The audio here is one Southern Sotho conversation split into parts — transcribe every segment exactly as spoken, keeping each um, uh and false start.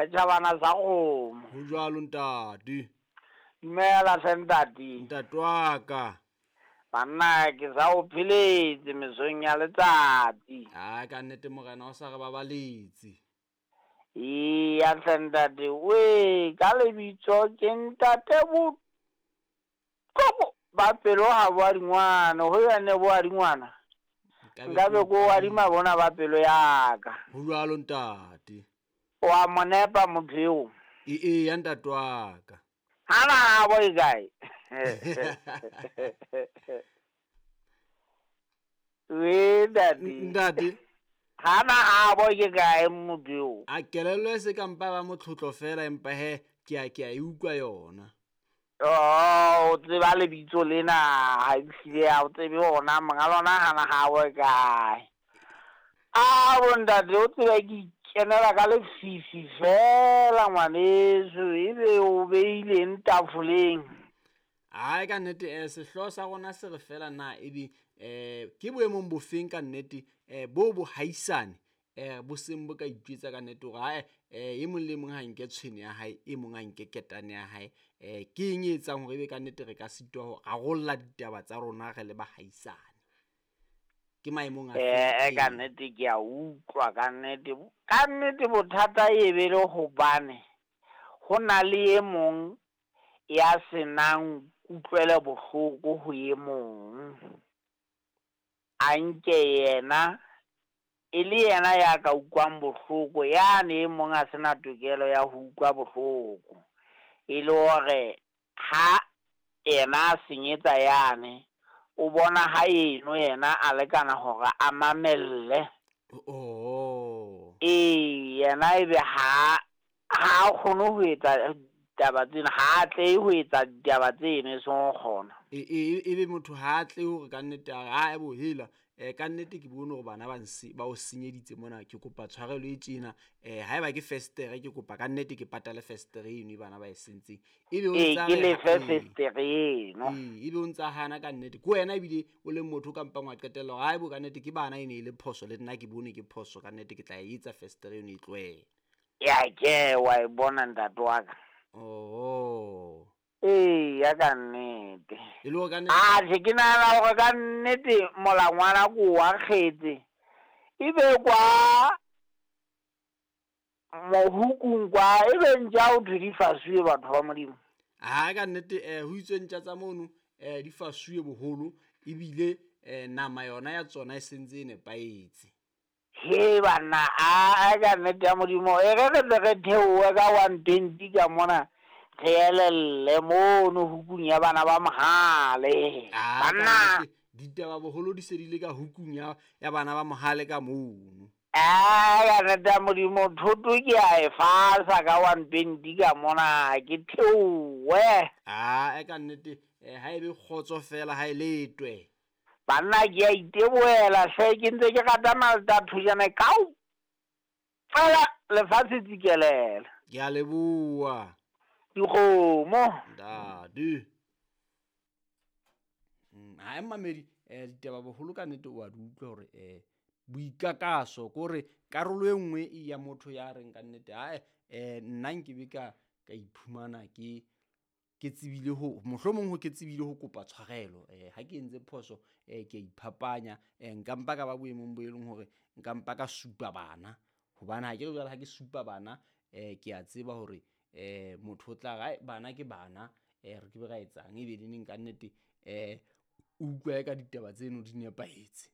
Re tjhabana sa kgomo. Ho jwalo ntate. Dumela hle ntate. Ntate wa ka. Banna ke sa o pheletse mesong ya letsatsi. Ai ka nnete morena o sa re babaletse. Eya hle ntate, we ka lebitso ke ntate Botloko ba pelo ha bo a dingwana, ho yane bo a dingwana. Nka be ko adima bona ba pelo ya ka. Ho jwalo ntate. Wa mo nepa motho eo. E eya ntate wa ka. Hana bo e kae? We ntate. Ntate. Hana a bo ke kae motho eo? A kelello e se ka mpa ba motlotlo fela empa he ke a ke a e utlwa yona. Oh, o tseba lebitso lena ha ehlile ha o tsebe hona monga lona hana ha bo e kae. A bo ntate o tsebe ke ikenela ka lefifi fela ngwaneso ebe o beileng tafoleng. Ai ka nnete eh sehlooho sa rona se re fela na ebe eh ke boemong bofeng ka nnete eh bo bo haisane eh bo seng bo ka itjwetsa ka nnete hore ae eh e mong le mong ha nke tshwene ya hae e mong a nke ketane ya hae eh ke eng e etsang hore ebe ka nnete re ka sitwa ho rarolla ditaba tsa rona re le bahaisane. Ke maemong a Eh ka nnete ke a utlwa ka nnete. Ka nnete bothata e be le hobane ho na le e mong ya senang kutlwelo bohloko ho e mong. A nke yena e le yena ya ka utlwang bohloko, yane e mong a sena tokelo ya ho utlwa bohloko. E le hore ha yena a senyetsa yane, o bona ha eno yena a lekana hore a mamelle. Oh. Ee, yena ebe ha ha kgone ho etsa ditaba tsena, ha tle ho etsa ditaba tseno e seng ho kgona. E e ebe motho ha tle hore ka nnete a re ha bo hela eh ka nnete ke bone hore bana ba nse ba o senyeditse mona ke kopa tshwarelo e tjena eh haeba ke festere ke kopa ka nnete ke patale festere eno e bana ba e sentseng. Ebe o Ee, ntsa ke re lefe ee. festere eno. Ee, ebe o ntsa hana ka nnete. Ke wena ebile o leng motho o ka mpang wa qetella hore haebo ka nnete ke bana e ne e le phoso le nna ke bone ke phoso ka nnete ke tla e etsa festere eno e tlohele. Ya ke wa e bona ntate wa ka. Oh. Ee, ya ka nnete. E le hore ka nnete Atjhe ke nahana hore ka nnete molangwana ko wa kgetse. Ebe kwa mohukung kwa ebe ntja ho thwe di fasuwe batho ba Modimo. Ha ka nnete eh ho itswe ntja tsa mono eh di fasuwe boholo ebile eh nama yona ya tsona e sentse e nepahetse. He banna a ka nnete ya Modimo e re re tle re theohe ka one twenty ka mona re elelle mono hukung ya bana ba Mohale. Ah, ka Banna nnete ditaba boholo di se di le ka hukung ya ya bana ba Mohale ka mono. a ka nnete ya Modimo thoto ke a e fasa ka one twenty ka mona ke theohe. Ah, e ka nnete eh ha ebe kgotso fela ha e letwe. Banna ke a itebohela hle ke ntse ke rata malta thojana kao fela lefatshe tsikelele. Ke a leboha. Dikgomo. Ntate. Mm, ha e mamedi eh ditaba boholo ka nnete o a di utlwa hore eh boikakaso ke hore karolo e nngwe e ya motho ya reng ka nnete ha eh nna nkebe ka ka iphumana ke ke tsebile ho mohlomong ho ke tsebile ho kopa tshwarelo eh ha ke entse phoso eh ke a iphapanya eh nka mpa ka ba boemong bo e leng hore nka mpa ka supa bana hobane ha ke re jwale ha ke supa bana eh ke a tseba hore eh motho o tla re ai bana ke bana eh re ke be ra etsang ebe le neng ka nnete eh o utlwa ka ditaba tseno di nepahetse.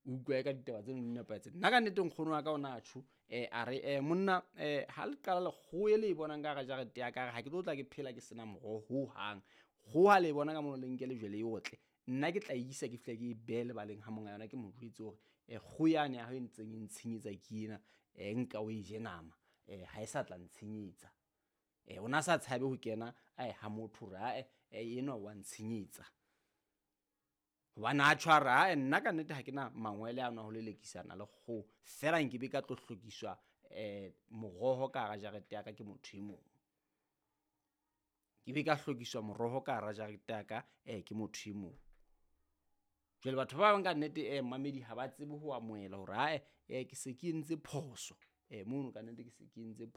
O utlwa ka ditaba tseno di nepahetse. Nna ka nnete nkgono wa ka ona a tjho eh a re eh monna eh ha le qala lekgowa e le e bonang ka hara jarete ya ka ha ke tlo tla ke phela ke sena moroho hohang. Kgoho ha le e bona ka mono le nke lejwe le e otle. Nna ke tla e isa ke fihla ke e behe lebaleng ha monga yona ke mo jwetse hore eh kgoho yane ya hao e ntseng e ntshenyetsa ke ena eh nka o e je nama eh ha e sa tla ntshenyetsa. Eh ona sa tshabe ho kena ae ha motho hore ae enwa wa ntshenyetsa. Hobane a tshwara ae nna ka nnete ha ke na mangwele ano a ho lelekisana le kgoho fela nkebe ka tlo hlokiswa eh moroho ka hara jarete ya ka ke motho e mong. Ke be ka hlokiswa moroho ka hara jarete ya ka eh ke motho e mong. Jwale batho ba bang ka nnete eh mamedi ha ba tsebe ho amohela hore ae eh ke se ke entse phoso. Eh mono ka nnete ke se ke entse